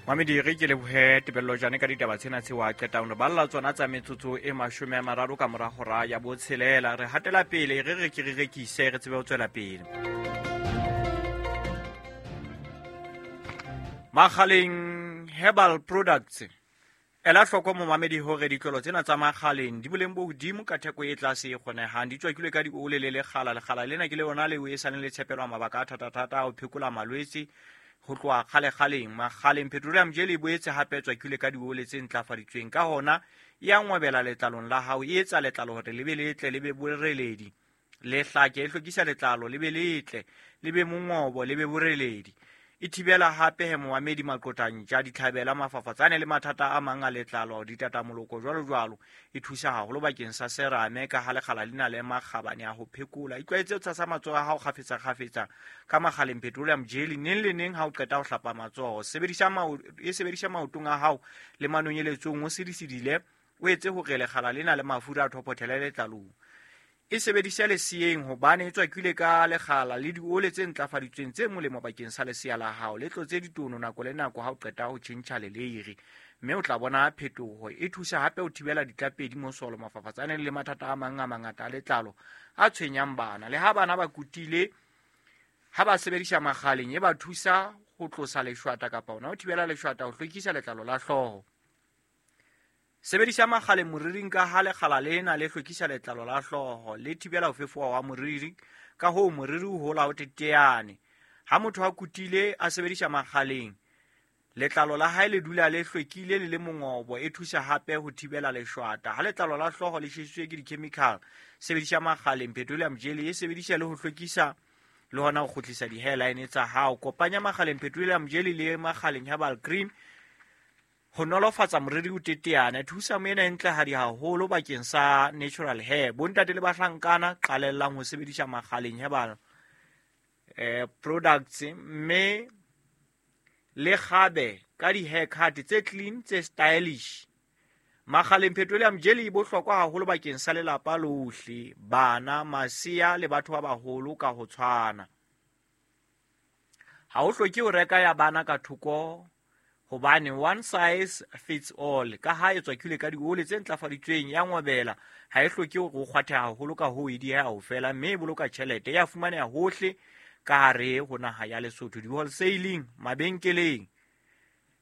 Mamedi, re ke lebohe Tebello Jane ka ditaba tsena tseo a qetang re balla tsona tsa metsotso e 30 ka mora hora ya botshelela. Re hatela pele, re re ke re rekise, re tsebe ho tswela pele. Makgaleng Herbal Products. Ela hloko momamedi hore ditlolo tsena tsa Makgaleng di boleng bo hodimo ka theko e tlase e kgonehang. Di tswakilwe ka diole le lekgala. Lekgala lena ke le yona leo e saleng le tshepelwa mabaka a thatathata a ho phekola malwetse ho tloha kgalekgaleng. Makgaleng Petroleum Jelly e boetse hape e tswakilwe ka diole tse ntlafaditsweng. Ka hona e a ngwebela letlalong la hao, e etsa letlalo hore le be letle, le be boreledi, le hlake, e hlwekisa letlalo le be letle, le be mongobo, le be boreledi. E thibela hape he momamedi maqotantja, ditlhabela, mafafatsane le mathata a mang a letlalo, ditatamoloko jwalo jwalo. E thusa haholo bakeng sa serame ka ha lekgala le na le makgabane a ho phekola. Itlwaetse ho tshasa matsoho a hao kgafetsa kgafetsa ka Makgaleng Petroleum Jelly neng le neng ha o qeta ho hlapa matsoho. E sebedisa maotong a hao le manonyeletsong, o sedisedile, o etse hore lekgala lena le mafura a thophothele letlalong. E sebedise leseyeng hobane e tswakilwe ka lekgala le diole tse ntlafaditsweng tse molemo bakeng sa lesea la hao. Le tlotse ditono nako le nako ha o qeta ho tjhentjha leleiri, mme o tla bona phetoho. E thusa hape ho thibela ditlapedi, mosolo, mafafatsane le mathata a mang a mangata a letlalo a tshwenyang bana. Le ha bana ba kutile, ha ba sebedisa Makgaleng, e ba thusa ho tlosa leshwata kapa hona ho thibela leshwata, ho hlwekisa letlalo la hlooho. Sebedisa Makgaleng moriring ka ha lekgala lena le hlwekisa letlalo la hlooho, le thibela ho fefowa wa moriri, ka hoo moriri o hola o teteane. Ha motho a kutile a sebedisa Makgaleng, letlalo la hae le dula le hlwekile le le mongobo. E thusa hape ho thibela leshwata. Ha letlalo la hlooho le tjhesitswe ke di-chemical, sebedisa Makgaleng Petroleum Jelly. E sebedisa le ho hlwekisa le hona ho kgutlisa di-hairline tsa hao. Kopanya Makgaleng Petroleum Jelly le Makgaleng Herbal Cream ho nolofatsa moriri o teteane. Thusa moena e ntlehadi haholo bakeng sa natural hair. Bontate le bahlankana, qalellang ho sebedisa Makgaleng Herbal Products, mme le kgabe ka di-haircut tse clean, tse stylish. Makgaleng Petroleum Jelly e bohlokwa haholo bakeng sa lelapa lohle, bana, masea le batho ba baholo ka ho tshwana. Ha ho hloke ho reka ya bana ka thoko hobane one size fits all. Ka ha e tswakilwe ka diole tse ntlafaditsweng, ya ngwebela, ha e hloke hore o kgwathe haholo, ka hoo e dieha ho fela, mme e boloka tjhelete. Ya fumaneha hohle ka hare ho naha ya Lesotho, di-wholesaling, mabenkeleng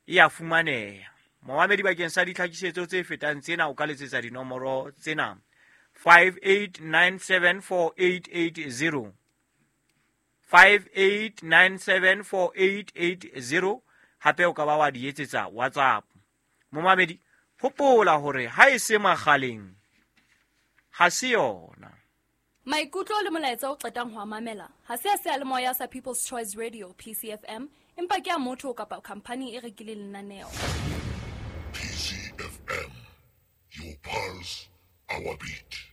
e ya fumaneha. Momamedi, bakeng sa ditlhakisetso tse fetang tsena o ka letsetsa dinomoro tsena: 58974880, 58974880. Hape o ka ba wa di etsetsa WhatsApp. Momamedi, hopola hore ha e se Makgaleng ha se yona. Maikutlo le molaetsa o qetang ho a mamela ha se a seyalemoya sa People's Choice Radio, PCFM, empa ke a motho kapa khampani e rekileng lenaneo. PCFM, your pulse, our beat.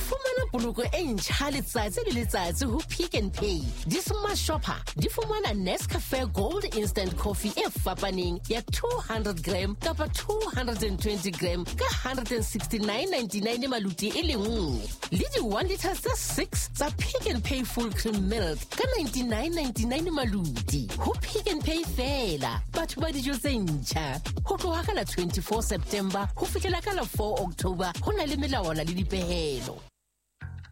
Fumana poloko e ntjha letsatsi le letsatsi ho Pick n Pay. Di-Smart Shopper di fumana Nescafe Gold Instant Coffee e fapaneng ya 200 gram kapa 220 gram ka 169.99 maluti e le nngwe, le di-1 liter tse 6 tsa Pick n Pay Full Cream Milk ka 99.99 maluti. Ho Pick n Pay fela, batho ba dijo tse ntjha. Ho tloha ka la 24 September ho fihlela ka la 4 October, ho na le melawana le dipehelo.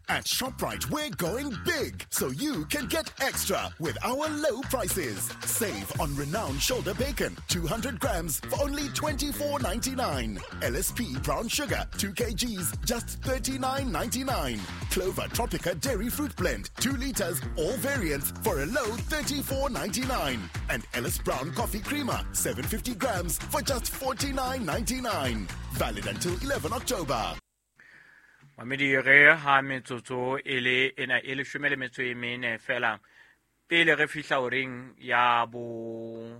At ShopRite, we're going big so you can get extra with our low prices. Save on renowned shoulder bacon, 200 grams for only $24.99. LSP brown sugar, 2 kgs, just $39.99. Clover Tropica dairy fruit blend, 2 liters, all variants for a low $34.99. And Ellis Brown coffee creamer, 750 grams for just $49.99. Valid until 11 October. Mamedi, re ha metsotso e le ena e 14 fela pele re fihla horeng ya bo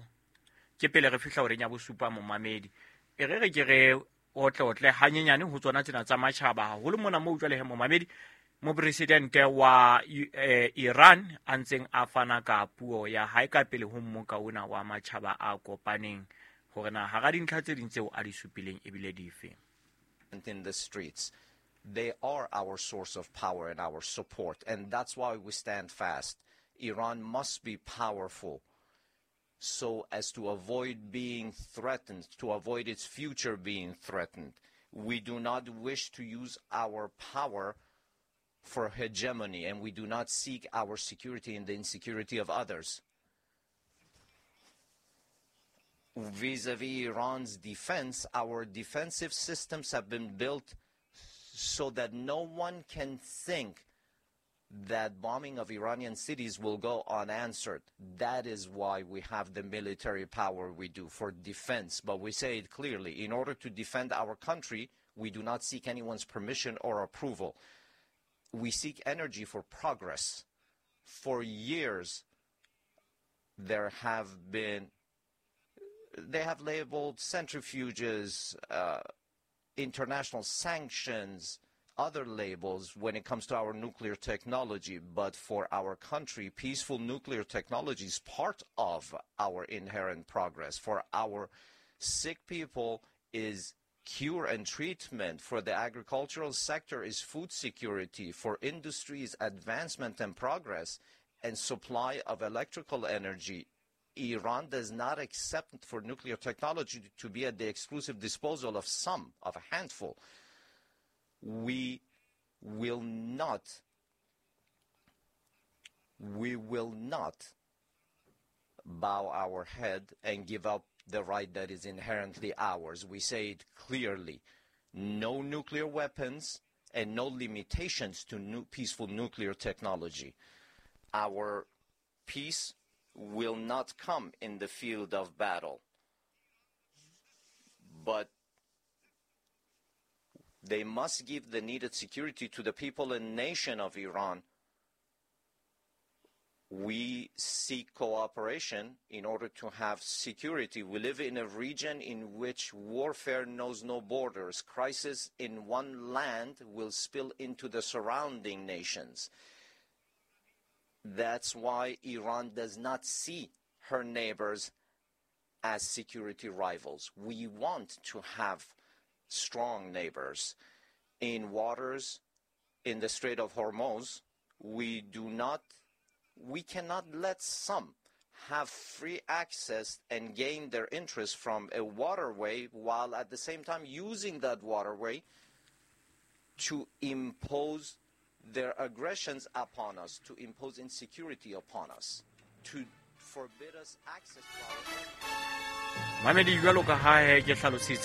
ke pele re fihla horeng ya bosupa. Momamedi, e re re ke re otle otle hanyenyane ho tsona tsena tsa matjhaba, haholo mona moo jwale he momamedi mopresidente wa Iran a ntseng a fana ka puo ya hae ka pele ho mmoka ona wa matjhaba a kopaneng, hore na hara dintlha tse ding tseo a di supileng ebile dife. In the streets, they are our source of power and our support, and that's why we stand fast. Iran must be powerful so as to avoid being threatened, to avoid its future being threatened. We do not wish to use our power for hegemony, and we do not seek our security in the insecurity of others. Vis-a-vis Iran's defense, our defensive systems have been built so that no one can think that bombing of Iranian cities will go unanswered. That is why we have the military power we do, for defense. But we say it clearly, in order to defend our country, we do not seek anyone's permission or approval. We seek energy for progress. For years, there have been, they have labeled centrifuges, international sanctions, other labels when it comes to our nuclear technology. But for our country, peaceful nuclear technology is part of our inherent progress. For our sick people is cure and treatment. For the agricultural sector is food security. For industries, advancement and progress, and supply of electrical energy. Iran does not accept for nuclear technology to be at the exclusive disposal of some, of a handful. We will not bow our head and give up the right that is inherently ours. We say it clearly. No nuclear weapons and no limitations to peaceful nuclear technology. Our peace will not come in the field of battle, but they must give the needed security to the people and nation of Iran. We seek cooperation in order to have security. We live in a region in which warfare knows no borders. Crisis in one land will spill into the surrounding nations. That's why Iran does not see her neighbors as security rivals. We want to have strong neighbors. In waters, in the Strait of Hormuz, we cannot let some have free access and gain their interest from a waterway while at the same time using that waterway to impose their aggressions upon us, to impose insecurity upon us, to forbid us access to our... Mamedi, jwalo ka ha ke hlalositse.